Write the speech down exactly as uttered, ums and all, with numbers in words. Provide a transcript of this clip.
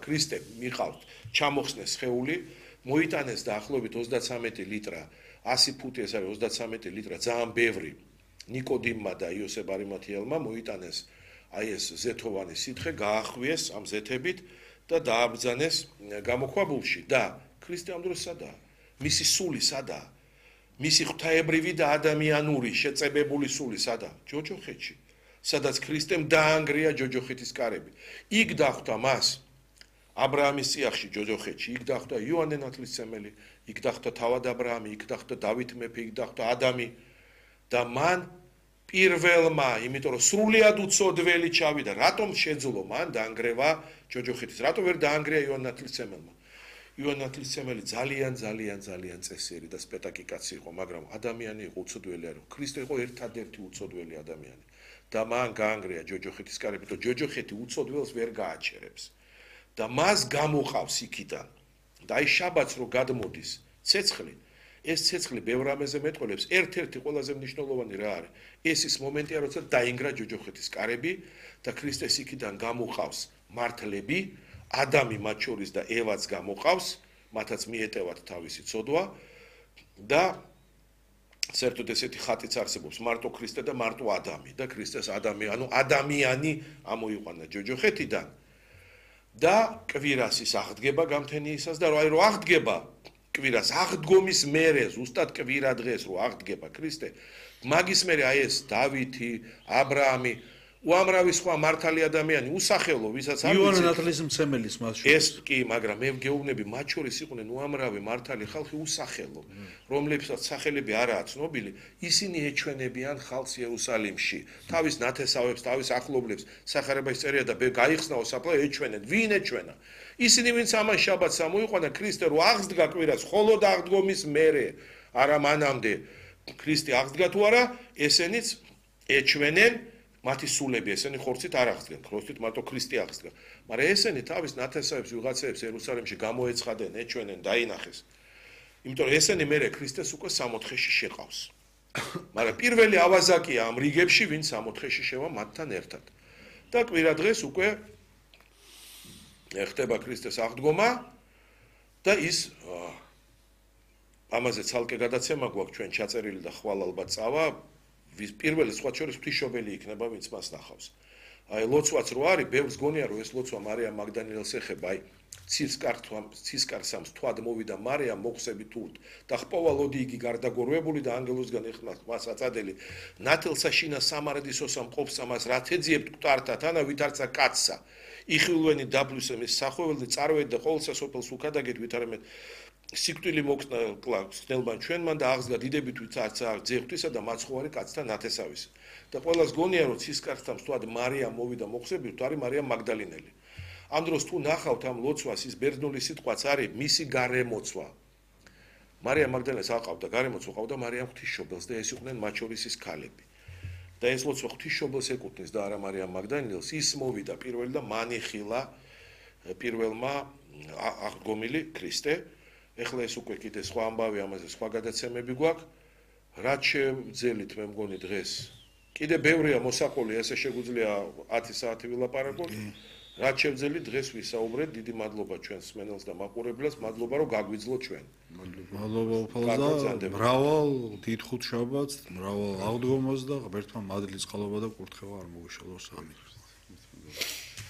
ქრისტე მიყავთ ჩამოხსნეს სხეული, მოიტანეს დაახლოებით ოცდათვრამეტი ლიტრა, ასი ფუტი ეს არის ოცდათვრამეტი ლიტრა, ძალიან ბევრი ნიკოდიმმა და იოსებ არიმათიელმა მოიტანეს აი ეს ზეთოვანი სითხე, გაახვიეს ამ ზეთებით და დააბრძანეს გამოქვაბულში და ქრისტე ამ დროს სადაა? მისი სული სადაა? მისი ღვთაებრივი და ადამიანური შეწებებული სული სადაა? ჯოჯოხეთში, სადაც ქრისტემ დაანგრია ჯოჯოხეთის კარები. იქ დახვდა მას ა ブラ ამის წიაღში ჯოჯოხეთში, იქ დახვდა იოანე ნათლისმცემელი, იქ დახვდა თავად ა ブラ ამი, იქ დახვდა დავით მეფე, იქ დახვდა ადამი და მან პირველმა, იმიტომ რომ სრულიად უცოდველი ჩავიდა, რატომ შეძლო მან დაანგრევა ჯოჯოხეთის? რატომ ვერ დაანგრია იოანე ნათლისმცემელმა? იოანე ნათლისმცემელი ძალიან ძალიან ძალიან წესიერი და სპეტაკი კაცი იყო, მაგრამ ადამიანი იყო უცოდველი არ იყო. ქრისტე იყო ერთადერთი უცოდველი ადამიანი და მან გაანგრია ჯოჯოხეთის კარები, და ჯოჯოხეთი უცოდველს ვერ გააჩერებს. და მას გამოყავს იქიდან. და აი შაბათს რო გადმოდის ცეცხლი, ეს ცეცხლი ბევრ რამეზე მეტყოლებს, ერთ-ერთი ყველაზე მნიშვნელოვანი რა არის? ეს ის მომენტია, როცა დაინგრა ჯოჯოხეთის კარები და ქრისტეს იქიდან გამოყავს მართლები, ადამი მათ შორის და ევაც გამოყავს, მათაც მიეტევათ თავისი ცოდვა და საერთოდ ესეთი ხატიც არსებობს, მარტო ქრისტე და მარტო ადამი და ქრისტეს ადამი, ანუ ადამიანი ამოიყვანა ჯოჯოხეთიდან და კვირას ის აღდგება გამთენიისას და აი რო აღდგება კვირას აღდგომის მერე ზუსტად კვირა დღეს რო აღდგება ქრისტე, მაგის მერე აი ეს დავითი, ა ブラ ამი, უამრავი სხვა მართალი ადამიანი უსახელო, ვისაც არ იოანე ნათლისმცემელის მას შორის. ეს კი, მაგრამ მე ვგეუბნები, მათ შორის იყვნენ უამრავი მართალი ხალხი უსახელო, რომლებსაც სახელები არაა ცნობილი, ისინი ეჩვენებიან ხალხს იერუსალიმში, თავის ნათესავებს, თავის ახლობლებს, სახარებაში წერია და გაიხსნაო საფლა ეჩვენენ, ვინ ეჩვენა? ისინი, ვინც ამან შაბათს ამოიყვანა, ქრისტე რო აღსდგა კვირას, მხოლოდ აღდგომის მერე, არა მანამდე ქრისტე აღსდგა თუ არა, ესენიც ეჩვენენ მათი სულები, ესენი ხორცით არ აღსდგენ, ხორცით მარტო ქრისტე აღსდგა. მაგრამ ესენი თავის ნათესავებს ვიღაცებს იერუსალიმში გამოეცხადნენ, ეჩვენენ, დაინახეს. იმიტომ რომ ესენი მერე ქრისტეს უკვე სამოთხეში შეყავს. მაგრამ პირველი ავაზაკია ამ რიგებში, ვინც სამოთხეში შევა მათთან ერთად. და კვირა დღეს უკვე ხდება ქრისტეს აღდგომა და ის ამაზე ცალკე გადაცემა გვაქვს ჩვენ ჩაწერილი და ხვალ ალბათ წავა. პირველი სხვა შორის ღვთისმშობელი იქნება, ვინც მას ნახავს. აი ლოცვაც რო არის, ბევრს გონია რომ ეს ლოცვა მარიამ მაგდალინელს ეხება, აი ცისკარსამს თვად მოვიდა მარიამ მოხსებით თურთ და ხპოვალოდი იგი გარდაგორვებული და ანგელოსგან ეხლა მას აწადელი ნათელსა შინა სამარდისოსა მყოფსა მას რაც ეძიებთ მკვდართა თანა ვითარცა კაცსა იხილვენი დაბლუსე მის სახვეველი წარვეთ და ყოველსა სოფელს უკადაგეთ ვითარემეთ სიკვდილი მოკლა ხნელბან ჩვენმან და აღსდგა დიდებით ვიცარცა ძეღვთისა და მაცხოვარი კაცთა ნათესავის და ყველას გონია რომ ცისკარსთან თვად მარიამ მოვიდა მოხსებით თუ არის მარიამ მაგდალინელი ამ დროს თუ ნახავთ ამ ლოცვას ის ბერძნული სიტყვაც არის მისი გარემოცვა მარიამ მაგდალინელს აყავდა გარემოცვა ყავდა მარიამ ღვთისმშობელს და ეს იყვნენ მათ შორის ის ქალები და ეს ლოცვა ღვთისმშობელს ეკუთვნის და არა მარიამ მაგდალინელს ის მოვიდა პირველი და მანიხილა პირველმა აღდგომილი ქრისტე ეხლა ეს უკვე კიდე სხვა ამბავი ამაზე სხვა გადაცემები გვაქვს რაც შევძელით მე მგონი დღეს კიდე ბევრია მოსაყოლი ესე შეგვიძლია ათი საათი ვილაპარაკოთ რაც შევძელით დღეს ვისაუბრეთ დიდი მადლობა ჩვენს მსმენელს და მაყურებლებს მადლობა რომ გაგვიძლოთ ჩვენ მადლობა უფალო და მრავალ დიდ ხუთშაბათს მრავალ აღდგომას და ღმერთმა მადლის წყალობა და კურთხევა არ მოგუშალოს ამინ